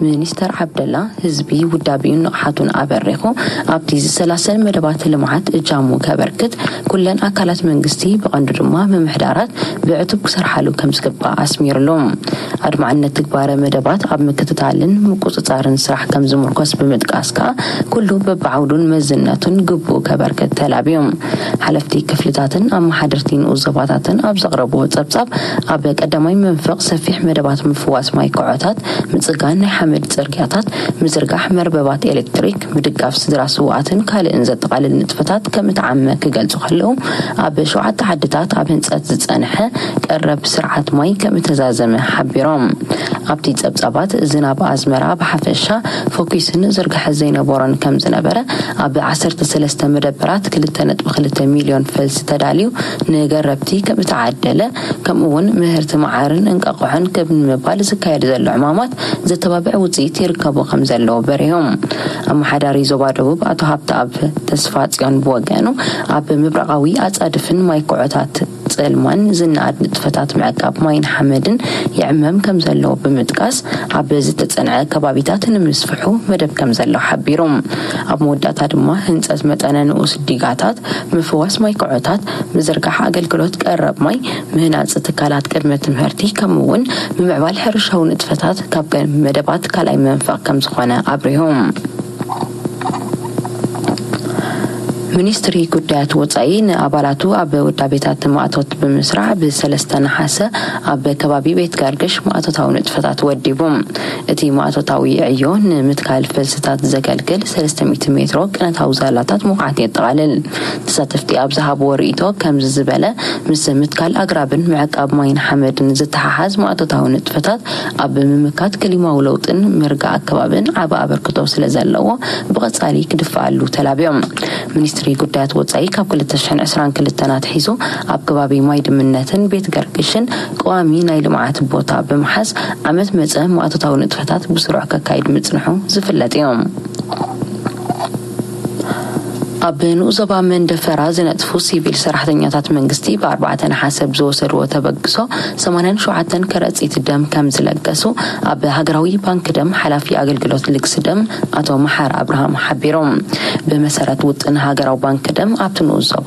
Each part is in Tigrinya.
ሚኒስተር ዓብደላ፣ ህዝቢ ውዳቤኡን ንቕሓቱን ኣበሪኹ ኣብቲ ዝሰላሰል መደባት ልምዓት እጃሙ ከበርክት፣ ኩለን ኣካላት መንግስቲ፣ ብቐንዱ ድማ ምምሕዳራት፣ ብዕቱብ ክሰርሓሉ ከም ዝግባእ ኣስሚሩሉ። ኣድማዕነት ትግባረ መደባት ኣብ ምክትታልን ምቁጽጻርን ስራሕ ከም ዝምርኮስ ብምጥቃስ ከኣ፣ ኩሉ በብዓውዱን መዝነቱን ግቡእ ከበርክት ተላብዮም። ሓለፍቲ ክፍልታትን ኣመሓደርቲ ንኡስ ዞባታትን ኣብ ዘቕረብዎ ጸብጻብ፣ ኣብ ቀዳማይ መንፈቕ ሰፊሕ መደባት ምፍዋስ ማይ ኮዖታት፣ ምጽጋን ናይ ሓመድ ጽርግያታት፣ ምዝርጋሕ መርበባት ኤሌክትሪክ፣ ምድጋፍ ስድራ ስውኣትን ካልእን ዘጠቓልል ንጥፈታት ከም እተዓመ ክገልጹ ከለዉ፣ ኣብ ሸውዓተ ዓድታት ኣብ ህንጸት ዝጸንሐ ቀረብ ስርዓት ማይ ከም እተዛዘመ ሓቢሮም። ኣብቲ ጸብጻባት፣ ዝናብ ኣዝመራ ብሓፈሻ ፎኪስን ዝርግሐ ዘይነበሮን ከም ዝነበረ፣ ኣብ ዓሰርተ ሰለስተ መደበራት ክልተ ነጥቢ ክልተ ሚልዮን ፈልሲ ተዳልዩ ንገረብቲ ከም እተዓደለ፣ ከምኡ እውን ምህርቲ መዓርን እንቃቑሖን ከም ንምባል ዝካየድ ዘሎ ዕማማት ዘተባብዕ ውጽኢት ይርከቦ ከም ዘለዎ በሪሆም። ኣመሓዳሪ ዞባ ደቡብ ኣቶ ሃብተኣብ ተስፋጽዮን ብወገኑ፣ ኣብ ምብራቓዊ ኣጻድፍን ማይ ኮዖታት ጽልማን ዝነኣድ ንጥፈታት ምዕቃብ ማይን ሓመድን ይዕመም ከም ዘለዎ ብምጥቃስ፣ ኣብ ዝተጸንዐ ከባቢታት ንምስፍሑ መደብ ከም ዘሎ ሓቢሩ። ኣብ መወዳእታ ድማ፣ ህንጸት መጠነ ንኡስ ዲጋታት፣ ምፍዋስ ማይ ኮዖታት፣ ምዝርጋሕ ኣገልግሎት ቀረብ ማይ፣ ምህናጽ ትካላት ቅድመ ትምህርቲ፣ ከምኡ እውን ምምዕባል ሕርሻዊ ንጥፈታት ካብ መደባት ካልኣይ መንፈቕ ከም ዝኾነ ኣብሪሁ። ሚኒስትሪ ጉዳያት ወጻኢ ንኣባላቱ ኣብ ውዳቤታት ማእቶት ብምስራዕ፣ ብሰለስተ ነሓሰ ኣብ ከባቢ ቤት ጋርግሽ ማእቶታዊ ንጥፈታት ወዲቡ። እቲ ማእቶታዊ ዕዮ ንምትካል ፈልስታት ዘገልግል ሰለስተ ሚእቲ ሜትሮ ቅነታዊ ዛላታት ምኹዓት የጠቓልል። ተሳተፍቲ ኣብ ዝሃብዎ ርእይቶ፣ ከምዚ ዝበለ ምስ ምትካል ኣግራብን ምዕቃብ ማይን ሓመድን ዝተሓሓዝ ማእቶታዊ ንጥፈታት ኣብ ምምካት ክሊማዊ ለውጥን ምርጋእ ኣከባብን ዓቢ ኣበርክቶ ስለ ዘለዎ፣ ብቐጻሊ ክድፈኣሉ ተላብዮም። ሚኒስትሪ ጉዳያት ወጻኢ ካብ ክልተ ሽሕን ዕስራን ክልተን ኣትሒዙ ኣብ ከባቢ ማይ ድምነትን ቤት ገርግሽን ቀዋሚ ናይ ልምዓት ቦታ ብምሓዝ፣ ዓመት መጸ ማእቶታዊ ንጥፈታት ብስሩዕ ከካይድ ምጽንሑ ዝፍለጥ እዩ። ኣብ ንኡስ ዞባ መንደፈራ ዝነጥፉ ሲቪል ሰራሕተኛታት መንግስቲ፣ ብኣርባዕተ ነሓሰ ብዝወሰድዎ ተበግሶ፣ ሰማንያን ሸውዓተን ከረጺት ደም ከም ዝለገሱ፣ ኣብ ሃገራዊ ባንክ ደም ሓላፊ ኣገልግሎት ልግሲ ደም ኣቶ መሓር ኣብርሃም ሓቢሮም። ብመሰረት ውጥን ሃገራዊ ባንክ ደም፣ ኣብቲ ንኡስ ዞባ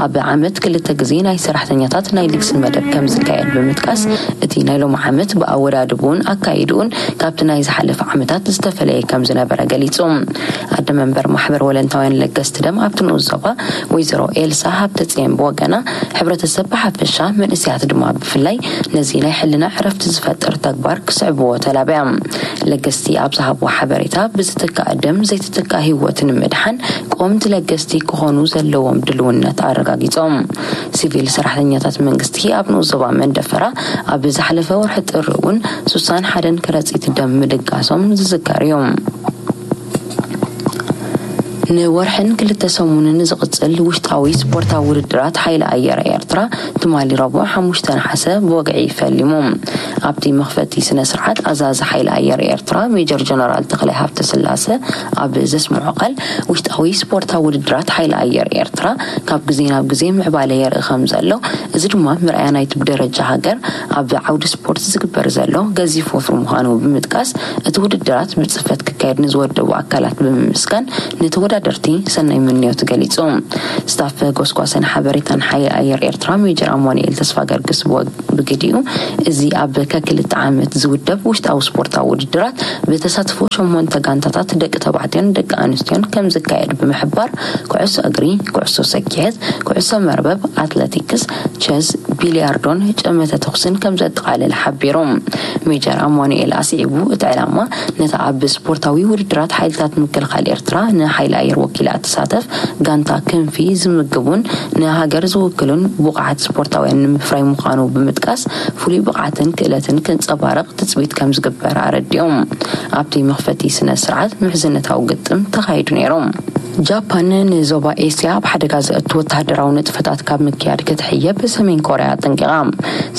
ኣብ ዓመት ክልተ ግዜ ናይ ሰራሕተኛታት ናይ ልግሲ መደብ ከም ዝካየድ ብምጥቃስ፣ እቲ ናይ ሎሚ ዓመት ብኣወዳድብኡን ኣካይድኡን ካብቲ ናይ ዝሓለፈ ዓመታት ዝተፈለየ ከም ዝነበረ ገሊጹ። ኣደ መንበር ማሕበር ወለንታውያን ለገስቲ ደም ኣብቲ ንኡስ ዞባ፣ ወይዘሮ ኤልሳ ሃብተጽዮን ብወገና፣ ሕብረተሰብ ብሓፈሻ፣ መንእሰያት ድማ ብፍላይ፣ ነዚ ናይ ሕልና ዕረፍቲ ዝፈጥር ተግባር ክስዕብዎ ተላብያ። ለገስቲ ኣብ ዝሃብዎ ሓበሬታ፣ ብዝትካእ ደም ዘይትትካእ ህይወት ንምድሓን፣ ቀወምቲ ለገስቲ ክኾኑ ዘለዎም ድልውነት ኣረጋጊጾም። ሲቪል ሰራሕተኛታት መንግስቲ ኣብ ንኡስ ዞባ መንደፈራ፣ ኣብ ዝሓለፈ ወርሒ ጥሪ እውን ሱሳን ሓደን ከረጺት ደም ምልጋሶም ዝዝከር እዩ። ንወርሕን ክልተ ሰሙንን ዝቕጽል ውሽጣዊ ስፖርታዊ ውድድራት ሓይሊ ኣየር ኤርትራ፣ ትማሊ ረቡዕ ሓሙሽተ ነሓሰ ብወግዒ ፈሊሙ። ኣብቲ መኽፈቲ ስነ ስርዓት፣ ኣዛዚ ሓይሊ ኣየር ኤርትራ ሜጀር ጀነራል ተኽላይ ሃብተስላሰ ኣብ ዘስምዖ ቃል፣ ውሽጣዊ ስፖርታዊ ውድድራት ሓይሊ ኣየር ኤርትራ ካብ ግዜ ናብ ግዜ ምዕባለ የርኢ ከም ዘሎ፣ እዚ ድማ ምርኣያ ናይቲ ብደረጃ ሃገር ኣብ ዓውዲ ስፖርት ዝግበር ዘሎ ገዚፍ ወፍሪ ምዃኑ ብምጥቃስ፣ እቲ ውድድራት ብጽፈት ክካየድ ንዝወደቡ ኣካላት ብምምስጋን፣ ንተወዳደርቲ ሰናይ ምንዮት ገሊጹ። ስታፍ ጎስጓስን ሓበሬታን ሓይሊ ኣየር ኤርትራ ሜጀር ኣማኑኤል ተስፋ ገርግስ ብወግ-፣ ብግዲኡ፣ እዚ ኣብ ከክልተ ዓመት ዝውደብ ውሽጣዊ ስፖርታዊ ውድድራት፣ ብተሳትፎ ሸሞንተ ጋንታታት ደቂ ተባዕትዮን ደቂ ኣንስትዮን ከም ዝካየድ ብምሕባር፣ ኩዕሶ እግሪ፣ ኩዕሶ ሰኪዔት፣ ኩዕሶ መርበብ፣ ኣትለቲክስ፣ ቸዝ፣ ቢልያርዶን ጨመተ ተኹስን ከም ዘጠቓልል ሓቢሩ። ሜጀር ኣማኑኤል ኣስዒቡ፣ እቲ ዕላማ፣ ነታ ኣብ ስፖርታዊ ውድድራት ሓይልታት ምክልኻል ኤርትራ ንሓይሊ ኣየር ወኪላ እትሳተፍ ጋንታ ክንፊ ዝምግቡን ንሃገር ዝውክሉን ብቑዓት ስፖርታውያን ንምፍራይ ምዃኑ ብምጥቃስ፣ ፍሉይ ብቕዓትን ክእለትን ክንጸባረቕ ትጽቢት ከም ዝግበር ኣረዲኦም። ኣብቲ መኽፈቲ ስነ ስርዓት ምሕዝነታዊ ግጥም ተኻይዱ ነይሩ። ጃፓን ንዞባ ኤስያ ኣብ ሓደጋ ዘእቱ ወተሃደራዊ ንጥፈታት ካብ ምክያድ ክትሕየብ ሰሜን ኮርያ ኣጠንቂቓ።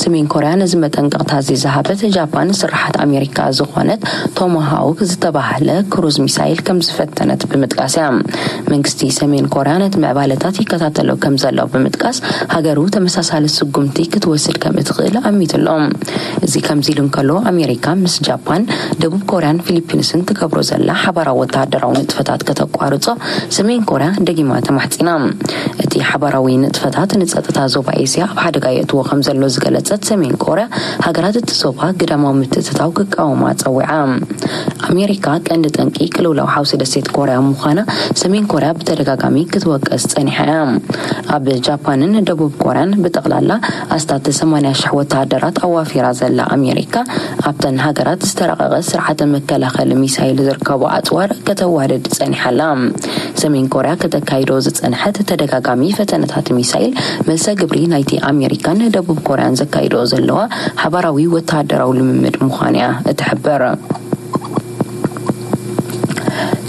ሰሜን ኮርያ ነዚ መጠንቀቕታ እዚ ዝሃበት፣ ጃፓን ስርሓት ኣሜሪካ ዝኾነት ቶማሃውክ ዝተባህለ ክሩዝ ሚሳይል ከም ዝፈተነት ብምጥቃስ እያ። መንግስቲ ሰሜን ኮርያ ነቲ ምዕባለታት ይከታተሎ ከም ዘሎ ብምጥቃስ፣ ሃገሩ ተመሳሳሊ ስጉምቲ ክትወስድ ከም እትኽእል ኣሚቱ ኣሎ። እዚ ከምዚ ኢሉ እንከሎ፣ ኣሜሪካ ምስ ጃፓን፣ ደቡብ ኮርያን ፊሊፒንስን ትገብሮ ዘላ ሓባራዊ ወተሃደራዊ ንጥፈታት ከተቋርጾ ሰሜን ኮርያ ደጊማ ተማሕጺና። እቲ ሓባራዊ ንጥፈታት ንጸጥታ ዞባ ኤስያ ኣብ ሓደጋ የእትዎ ከም ዘሎ ዝገለጸት ሰሜን ኮርያ፣ ሃገራት እቲ ዞባ ግዳማዊ ምትእትታው ክቃወማ ጸዊዓ። ኣሜሪካ ቀንዲ ጠንቂ ቅልውላው ሓውሲ ደሴት ኮርያ ምዃና ሰሜን ኮርያ ብተደጋጋሚ ክትወቀስ ጸኒሓ እያ። ኣብ ጃፓንን ደቡብ ኮርያን ብጠቕላላ ኣስታት ሰማንያ ሽሕ ወተሃደራት ኣዋፊራ ዘላ ኣሜሪካ፣ ኣብተን ሃገራት ዝተራቐቐ ስርዓተ መከላኸሊ ሚሳይል ዝርከቡ ኣጽዋር ከተዋድድ ጸኒሓ ኣላ። ሰሜን ኮርያ ከተካይዶ ዝጸንሐት ተደጋጋሚ ፈተነታት ሚሳይል፣ መልሰ ግብሪ ናይቲ ኣሜሪካን ደቡብ ኮርያን ዘካይዶ ዘለዋ ሓባራዊ ወተሃደራዊ ልምምድ ምዃኑ እያ እትሕብር።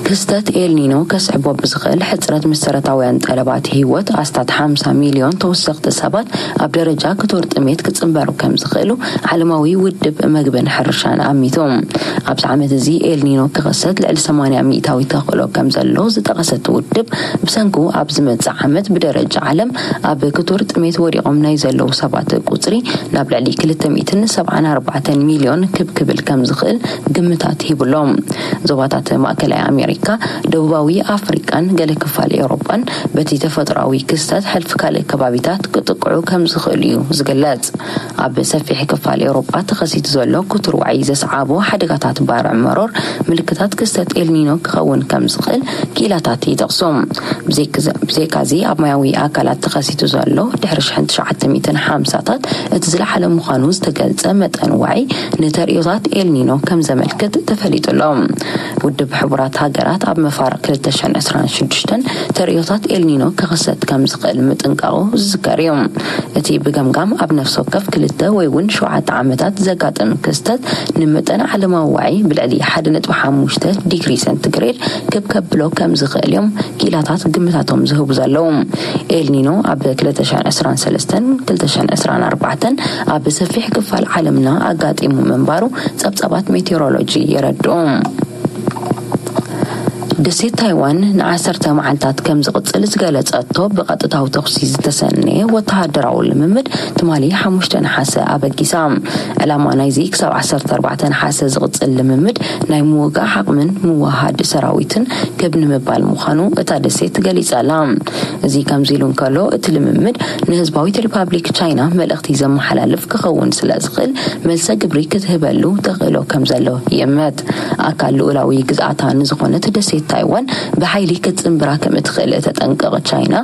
ክስተት ኤልኒኖ ከስዕቦ ብዝኽእል ሕጽረት መሰረታውያን ጠለባት ህይወት፣ ኣስታት ሓምሳ ሚልዮን ተወሰኽቲ ሰባት ኣብ ደረጃ ክቱር ጥሜት ክጽንበሩ ከም ዝኽእሉ ዓለማዊ ውድብ መግብን ሕርሻን ኣሚቱ። ኣብዚ ዓመት እዚ ኤልኒኖ ክኸሰት ልዕሊ ሰማንያ ሚእታዊ ተኽእሎ ከም ዘሎ ዝጠቐሰት ውድብ፣ ብሰንኩ ኣብ ዝመጽእ ዓመት ብደረጃ ዓለም ኣብ ክቱር ጥሜት ወዲቖም ናይ ዘለዉ ሰባት ቁጽሪ ናብ ልዕሊ ክልተ ሚእትን ሰብዓን ኣርባዕተን ሚልዮን ክብ ክብል ከም ዝኽእል ግምታት ሂቡሎም። ዞባታት ማእከላይ ኣሜሪካ፣ ደቡባዊ ኣፍሪቃን ገለ ክፋል ኤውሮጳን በቲ ተፈጥሮኣዊ ክስተት ሕልፊ ካልእ ከባቢታት ክጥቅዑ ከም ዝኽእሉ እዩ ዝግለጽ። ኣብ ሰፊሕ ክፋል ኤውሮጳ ተኸሲቱ ዘሎ ክቱር ዋዒ ዘስዓቦ ሓደጋታት ባርዕ መሮር ምልክታት ክስተት ኤልኒኖ ክኸውን ከም ዝኽእል ክኢላታት ይጠቕሱ። ብዘይክዘ-፣ ብዘይካዚ ኣብ ማያዊ ኣካላት ተኸሲቱ ዘሎ ድሕሪ ሽሕን ትሽዓተ ሚእትን ሓምሳታት እቲ ዝለዓለ ምዃኑ ዝተገልጸ መጠን ዋዒ ንተርእዮታት ኤልኒኖ ከም ዘመልክት ተፈሊጡ ኣሎ። ውድብ ሕቡራት ሃገራት ኣብ መፋርቕ ክልተ ሽሕን ዕስራን ሽዱሽተን ተርእዮታት ኤልኒኖ ክኽሰት ከም ዝኽእል ምጥንቃቑ ዝዝከር እዩ። እቲ ብገምጋም ኣብ ነፍሲ ወከፍ ክልተ ወይ እውን ሸውዓተ ዓመታት ዘጋጥም ክስተት ንመጠን ዓለማዊ ዋዒ ብልዕሊ ሓደ ነጥቢ ሓሙሽተ ዲግሪ ሰንቲግሬድ ክብ ከብሎ ከም ዝኽእል እዮም ክኢላታት ግምታቶም ዝህቡ ዘለዉ። ኤልኒኖ ኣብ ክልተ ሽሕን ዕስራን ሰለስተን ክልተ ሽሕን ዕስራን ኣርባዕተን ኣብ ሰፊሕ ክፋል ዓለምና ኣጋጢሙ ምንባሩ ጸብጻባት ሜቴሮሎጂ የረድኡ። ደሴት ታይዋን ንዓሰርተ መዓልታት ከም ዝቕጽል ዝገለጸቶ ብቐጥታዊ ተኹሲ ዝተሰነየ ወተሃደራዊ ልምምድ ትማሊ ሓሙሽተ ነሓሰ ኣበጊሳ። ዕላማ ናይዚ ክሳብ ዓሰርተ ኣርባዕተ ነሓሰ ዝቕጽል ልምምድ ናይ ምውጋእ ዓቕምን ምውሃድ ሰራዊትን ክብ ንምባል ምዃኑ እታ ደሴት ገሊጻ ኣላ። እዚ ከምዚ ኢሉ እንከሎ፣ እቲ ልምምድ ንህዝባዊት ሪፓብሊክ ቻይና መልእኽቲ ዘመሓላልፍ ክኸውን ስለ ዝኽእል፣ መልሰ ግብሪ ክትህበሉ ተኽእሎ ከም ዘሎ ይእመት። ኣካል ልኡላዊ ግዝኣታ ንዝኾነት ደሴት ታይዋን ብሓይሊ ክትጽንብራ ከም እትኽእል እተጠንቀቕ ቻይና፣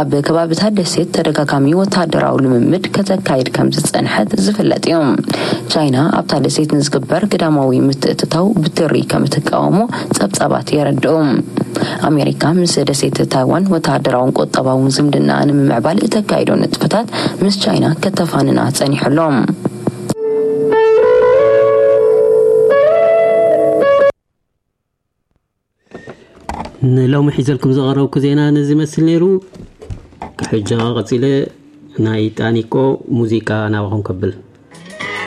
ኣብ ከባቢታት ደሴት ተደጋጋሚ ወተሃደራዊ ልምምድ ከተካይድ ከም ዝጸንሐት ዝፍለጥ እዩ። ቻይና ኣብታ ደሴት ንዝግበር ግዳማዊ ምትእትታው ብትሪ ከም እትቃወሞ ጸብጻባት የረድኡ። ኣሜሪካ ምስ ደሴት ታይዋን ወተሃደራውን ቁጠባውን ዝምድና ንምምዕባል እተካይዶ ንጥፈታት ምስ ቻይና ከተፋንና ጸኒሑ ኣሎ። ንሎሚ ሒዘልኩም ዝቐረብኩ ዜና ነዚ ይመስል ነይሩ። ሕጂ ቀጺለ ናይ ጣኒቆ ሙዚቃ ናባኹም ከብል።